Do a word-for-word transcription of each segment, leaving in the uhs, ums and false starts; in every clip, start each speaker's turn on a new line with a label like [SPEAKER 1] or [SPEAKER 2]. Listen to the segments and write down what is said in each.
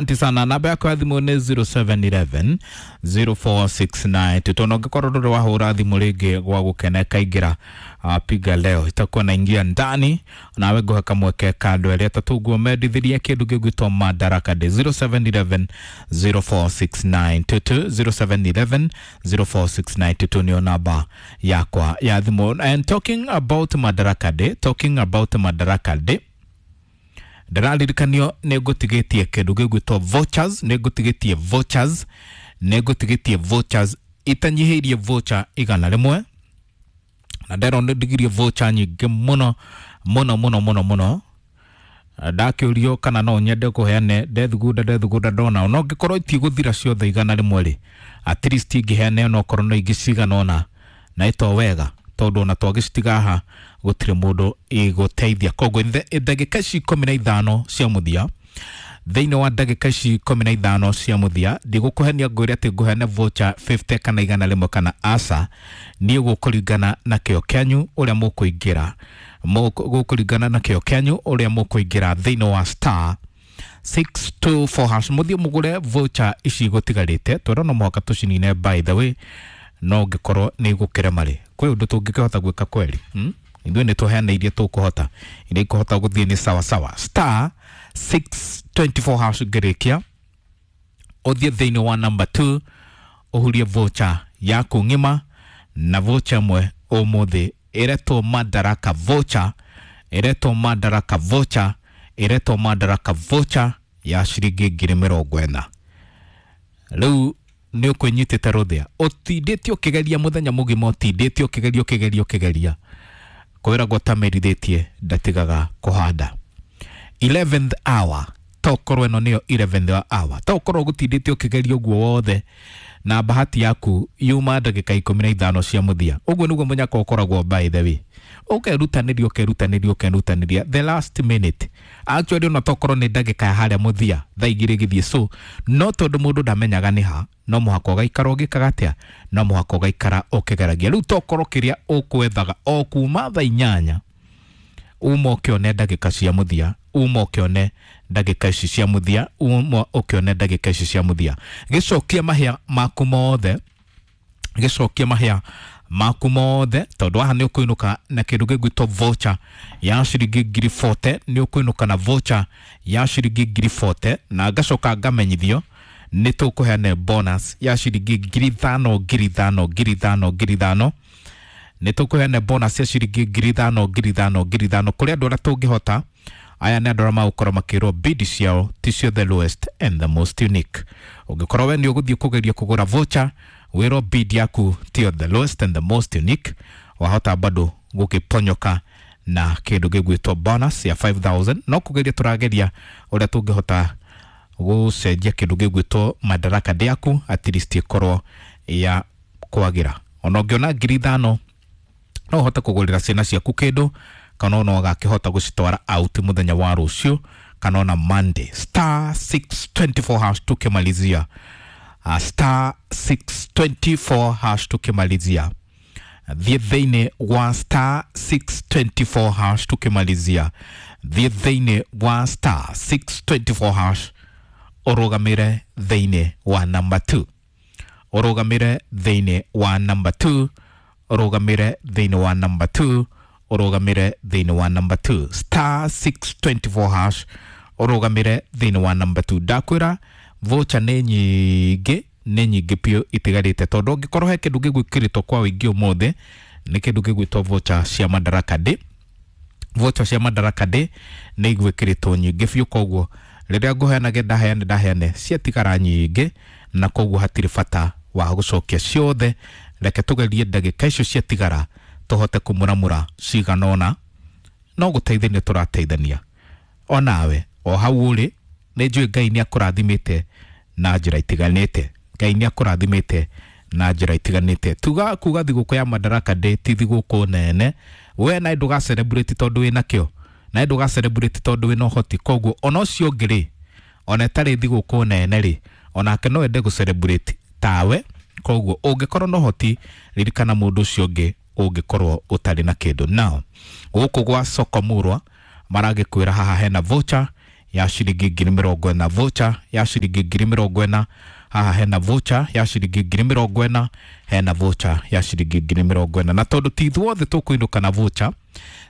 [SPEAKER 1] Asante sana. Namba yako ya thimũ nĩ zero seven eleven zero four six nine two. Tondũ ũngĩkorwo ndũrĩ wahũra thimũ rĩngĩ gwa gũkena ĩkaingĩra, uh, piga leo itakuwa naingia ndani nawe ngũhe kamweke ka andũ erĩ atatũ nguo mendithirie kĩndũ gĩgwĩtwo Madaraka Day. Zero seven eleven zero four six nine two two, zero seven eleven zero four six nine two two nĩyo namba yakwa ya thimũ. And talking about Madaraka Day, talking about Madaraka Day, ndĩraririkanio nĩ ngũtigĩtie kĩndũ gĩgwĩtwo vouchers, nĩ ngũtigĩtie vouchers, nĩ ngũtigĩtie vouchers itanyihĩirie voucher igana rĩmwe, na nderwo nĩ ndigirie voucher nyingĩ mũno mũno mũno mũno mũno. Ndakĩũrio kana no nyende kũheane, ndethugunda ndethugunda ndona ona ũngĩkorwo itigũthira ciothe igana rĩmwe rĩ, at least ingĩheane ona okorwo no ingĩ cigana ũna, na ĩto wega tondũ ona twagĩcitiga haha gũtirĩ mũndũ igũteithia. Koguo ndagĩka ici ikũmi na ithano cia mũthia, thĩinĩ wa ndagĩka ici ikũmi na ithano cia mũthia, ndigũkũhenia ngwĩre atĩ ngũheane voucher fifty kana igana rĩmwe kana aca, niĩ gũkũringana na kĩo kĩanyu ũrĩa mũkũingĩra, gũkũringana na kĩo kĩanyu ũrĩa mũkũingĩra thĩinĩ wa star six two four hash. Mũthiĩ mũgũre voucher ici gũtigarĩte, twĩra no mũhaka tũcinine by the way, no ũngĩkorwo nĩ igũkĩrema rĩ, kwĩ ũndũ tũngĩkĩhota gwĩka kweri, hmm? Ithuĩ nĩ tũheana iria tũkũhota, iria ikũhota gũthiĩ nĩ sawa sawa. Star six twenty four hash ngĩrĩkia, ũthiĩ thĩinĩ wa number two ũhurie voucher yaku ng'ima, na voucher ĩmwe ũmũthĩ ĩretwo Madaraka voucher, ĩretwo Madaraka voucher, ĩretwo Madaraka voucher ya ciringi ngiri mĩrongo ĩna. Rĩu nĩ ũkwĩnyitĩte rũthĩa, ũtindĩte ũkĩgeria mũthenya mũgima, ũtindĩte ũkĩgeria ũkĩgeria ũkĩgeria, kwĩragwo tamerithĩtie ndatigaga kũhanda. eleventh hour, tokorwo ĩno nĩyo eleventh hour, tokorwo ũgũtindĩte ũkĩgeria ũguo wothe na bahati yaku yuma ndagĩka ikũmi na ithano cia mũthia. Ũguo nĩguo mũnyaka ũkoragwo by the way, ũkerutanĩria ũkerutanĩria ũkerutanĩria the last minute, actually ona tokorwo nĩ ndagĩka ya harĩa mũthia thaa igĩrĩ gĩthiĩ, so no tondũ mũndũ ndamenyaga nĩ ha, no mũhaka ũgaikara ũgĩkaga atĩa, no mũhaka ũgaikara ũkĩgeragia. Rĩu tokorwo kĩrĩa ũkwethaga o kuma thaa inyanya, uma ũkĩone ndagĩka cia mũthia, uma ũkĩone ndagĩka ici cia mũthia, uma ũkĩone ndagĩka ici cia mũthia. Gĩcokia mahĩa maku mothe, gĩcokia mahĩa maku mothe, tondũ haha nĩ ũkũinũka na kĩndũ gĩgwĩtwo voucher ya ciringi ngiri forty, nĩ ũkũinũka na voucher ya ciringi ngiri forty, na ngacoka ngamenyithio nĩ tũkũheana bonus ya ciringi ngiri ithano ngiri ithano ngiri ithano ngiri ithano, nĩ tũkũheana bonus ya ciringi ngiri ithano ngiri ithano ngiri ithano kũrĩ andũ arĩa tũngĩhota. Aya nĩ andũ arĩa magũkorwo makĩrwo bid ciao ti cio the lowest and the most unique. Ũngĩkorwo we nĩ ũgũthiĩ kũgeria kũgũra voucher, wĩrwo bid yaku tiyo the lowest and the most unique, wahota bado gũkĩponyoka na kĩndũ gĩgwĩtwo bonus ya five thousand. No kũgeria tũrageria ũrĩa tũngĩhota gũcenjia kĩndũ gĩgwĩtwo Madaraka Day yaku at least ĩkorwo ya kwagĩra. Ona ũngĩona ngiri ithano no ũhote kũgũrĩra ciana ciaku kĩndũ, kana ona ũgakĩhota gũcitwara out mũthenya wa rũciũ kana ona Monday. Star six twenty four hash tukimalizia, uh, star six twenty four hash tukimalizia, thiĩ thĩinĩ wa star six twenty four hash tukimalizia, thiĩ thĩinĩ wa star six twenty four hash ũrũgamĩre thĩinĩ wa number two, ũrũgamĩre thĩinĩ wa number two, ũrũgamĩre thĩinĩ wa number two, ũrũgamĩre thĩinĩ wa number two, star six twenty four hash ũrũgamĩre thĩinĩ wa number two. Ndakwĩra voucher nĩ nyingĩ, nĩ nyingĩ biũ itigarĩte, tondũ ũngĩkorwo he kĩndũ gĩgwĩkĩrĩtwo kwa ũingĩ ũmũthĩ nĩ kĩndũ gĩgwĩtwo voucher cia Madaraka Day. Voucher cia Madaraka Day nĩ igwĩkĩrĩtwo nyingĩ biũ, koguo rĩrĩa ngũheanage ndaheane ndaheane ciatigara nyingĩ, na koguo hatirĩ bata wa gũcokia ciothe. Reke tũgerie ndagĩka icio ciatigara tũhote kũmũramũra cigana ũna, no gũteithania tũrateithania. Onawe o hau ũrĩ, nĩ njũĩ Ngai nĩ akũrathimĩte na njĩra itiganĩte, Ngai nĩ akũrathimĩte na njĩra itiganĩte. Tuga kuga thigũkũ ya Madaraka Day ti thigũkũ nene, we nawe ndũga celebrate tondũ wĩna kĩo, nawe ndũga celebrate tondũ wĩna ũhoti. Koguo ona ũcio ũngĩ rĩ, ona ĩtarĩ thigũkũ nene rĩ, onake no ende gũ celebrate tawe. Koguo ũngĩkorwo na ũhoti, ririkana mũndũ ũcio ũngĩ ũngĩkorwo ũtarĩ na kĩndũ. Now gũkũ gwa Soko Murwa maragĩkwĩra haha hena voucher ya ciringi ngiri mĩrongo ĩna, voucher ya ciringi ngiri mĩrongo ĩna. Haha hena voucher ya ciringi ngiri mĩrongo ĩna, hena voucher ya ciringi ngiri mĩrongo ĩna. Na tondũ ti ithuothe tũkũinũka na voucher,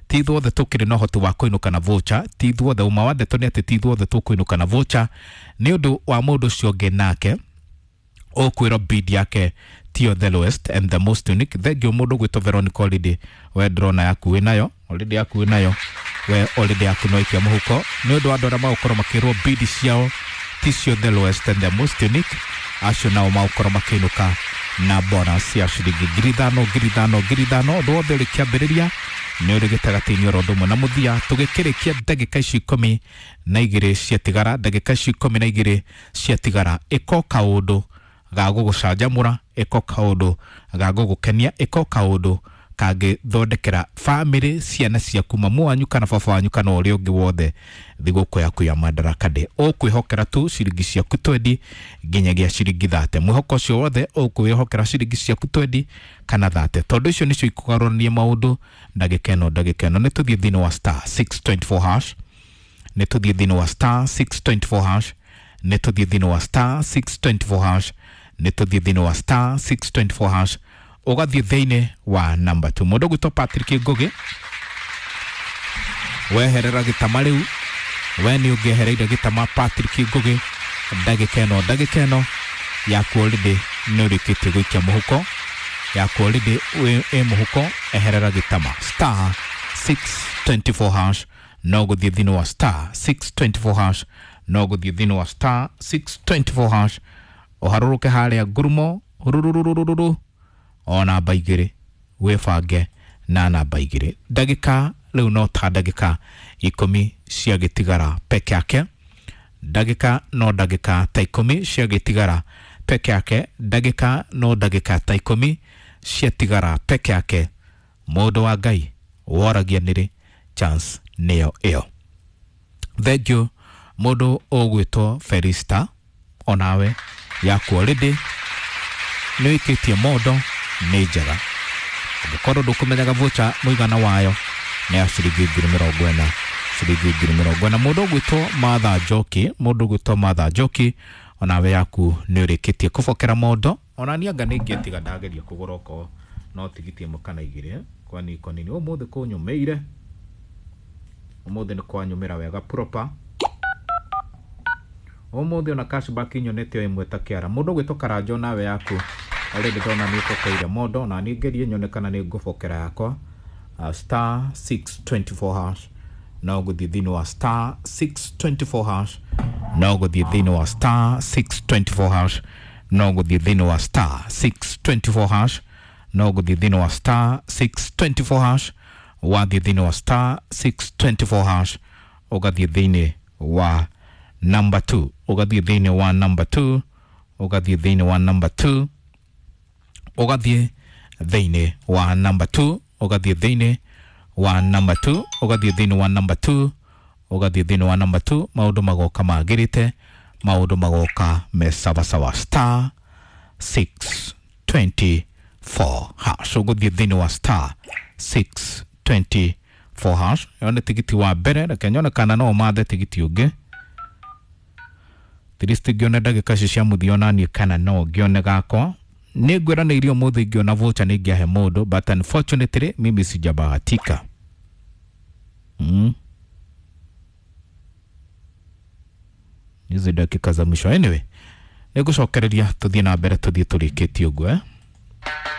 [SPEAKER 1] ti ithuothe tũkĩrĩ na ũhoti wa kũinũka na voucher, ti ithuothe, ũma wa ndeto nĩ atĩ ti ithuothe tũkũinũka na voucher, nĩ ũndũ wa mũndũ ũcio ũngĩ nake ũkwĩrwo bid yake tiyo the lowest and the most unique. Thengiũ mũndũ ũgwĩtwo Veronica, already we ndĩrona yaku wĩ nayo already, yaku wĩ nayo we already, yaku no ikia mũhuko. Nĩ ũndũ wa andũ arĩa magũkorwo makĩrwo bid ciao ticio the lowest and the most unique, acio nao magũkorwo makĩinũka na bonus ya ciringi ngiri ithano, ngiri ithano, ngiri ithano. Ũndũ wothe ũrĩ kĩambĩrĩria nĩ ũrĩ gĩtagatĩ-inĩ oro ũndũ ũmwe na mũthia. Tũgĩkĩrĩkia ndagĩka ici ikũmi na igĩrĩ ciatigara, ndagĩka ici ikũmi na igĩrĩ ciatigara, ĩko kaũndũ ga gũgũcanjamũra, ĩko kaũndũ ga gũgũkenia, ĩko kaũndũ kangĩthondekera bamĩrĩ, ciana ciaku, mamu wanyu kana baba wanyu kana ũrĩa ũngĩ wothe thigũkũ yaku ya Madaraka Day. Ũkwĩhokera tu ciringi ciaku twendi nginyagia ciringi thate. Mwĩhoko ũcio wothe ũkwĩhokera ciringi ciaku twendi kana thate, tondũ icio nĩcio ikũgarũrania maũndũ ndagĩka ĩno. Ndagĩka ĩno nĩ tũthiĩ thĩinĩ wa star six twenty four hash, nĩ tũthiĩ thĩinĩ wa star six twenty four hash, nĩ tũthiĩ thĩinĩ wa star six twenty four hash, nĩ tũthiĩ thĩinĩ wa star six twenty four hash, ũgathiĩ thĩinĩ wa number two. Mũndũ ũgwĩtwo Patrick Ngugi, weherera gĩtama rĩu, we nĩ ũngĩehereire gĩtama Patrick Ngugi ndagĩka ĩno. Ndagĩka ĩno yaku already nĩ ũrĩkĩtie gũikia mũhuko, yaku already ĩ mũhuko, eherera gĩtama. Star six twenty four hash, no gũthiĩ thĩinĩ wa star six twenty four hash, no gũthiĩ thĩinĩ wa star six twenty four hash, ũharũrũke harĩa ngurumo rurururururu o namba igĩrĩ, wĩbange na namba igĩrĩ. Ndagĩka rĩu no ta ndagĩka ikũmi ciagĩtigara peke yake, ndagĩka no ndagĩka ta ikũmi ciagĩtigara peke yake, ndagĩka no ndagĩka ta ikũmi ciatigara peke yake. Mũndũ wa Ngai woragia nĩrĩ chance nĩyo ĩyo. Thengiũ mũndũ ũgwĩtwo Felista, onawe yaku already nĩ wĩkĩtie mondo, nĩ njega. Ũngĩkorwo ndũkũmenyaga voucher mũigana wayo nĩ ya ciringi ngiri mĩrongo ĩna, ciringi ngiri mĩrongo ĩna. Mũndũ ũgwĩtwo Martha Njoki, mũndũ ũgwĩtwo Martha Njoki, onawe yaku nĩ ũrĩkĩtie kũbokera mondo. Ona niĩ anga nĩ ingĩtiga ndageria kũgũra okorwo no tigiti ĩmwe kana igĩrĩ, kwani iko nini ũmũthĩ kũnyũmĩire, ũmũthĩ nĩ kwanyũmĩra wega proper. Ũmũthĩ ona cashback nyonete o ĩmwe ta kĩara. Mũndũ ũgwĩtwo Karanjo, nawe yaku already ndona nĩ ũbokeire mondo, na niĩ ngerie nyone kana nĩ ngũbokera yakwa. uh, star six twenty four hash, no gũthiĩ thĩinĩ wa star six twenty four hash, no gũthiĩ thĩinĩ wa star six twenty four hash, no gũthiĩ thĩinĩ wa star six twenty four hash, no gũthiĩ thĩinĩ wa star six twenty four hash. Wathiĩ thĩinĩ wa star six twenty four hash, ũgathiĩ thĩinĩ wa number two, ũgathiĩ thĩinĩ wa number two, ũgathiĩ thĩinĩ wa number two, ũgathiĩ thĩinĩ wa number two, ũgathiĩ thĩinĩ wa number two, ũgathiĩ thĩinĩ wa number two, ũgathiĩ thĩinĩ wa number two. Maũndũ magoka magĩrĩte, maũndũ magoka me sawasawa. Star six twenty four hash, ũgũthiĩ thĩinĩ wa star six twenty four hash. Ĩyo nĩ tigiti wa mbere, reke nyone kana no mathe tigiti ũngĩ at least ngĩone ndagĩka ici cia mũthia onaniĩ kana no ngĩone gakwa. Nĩ ngwĩranĩirie ũmũthĩ ingĩona voucher nĩ ingĩahe mũndũ, but unfortunately mimi sijabahatika. mm. Hizi dakika za mwisho, anyway nĩ ngũcokereria tũthiĩ na mbere, tũthiĩ tũrĩkĩtie ũguo, eh?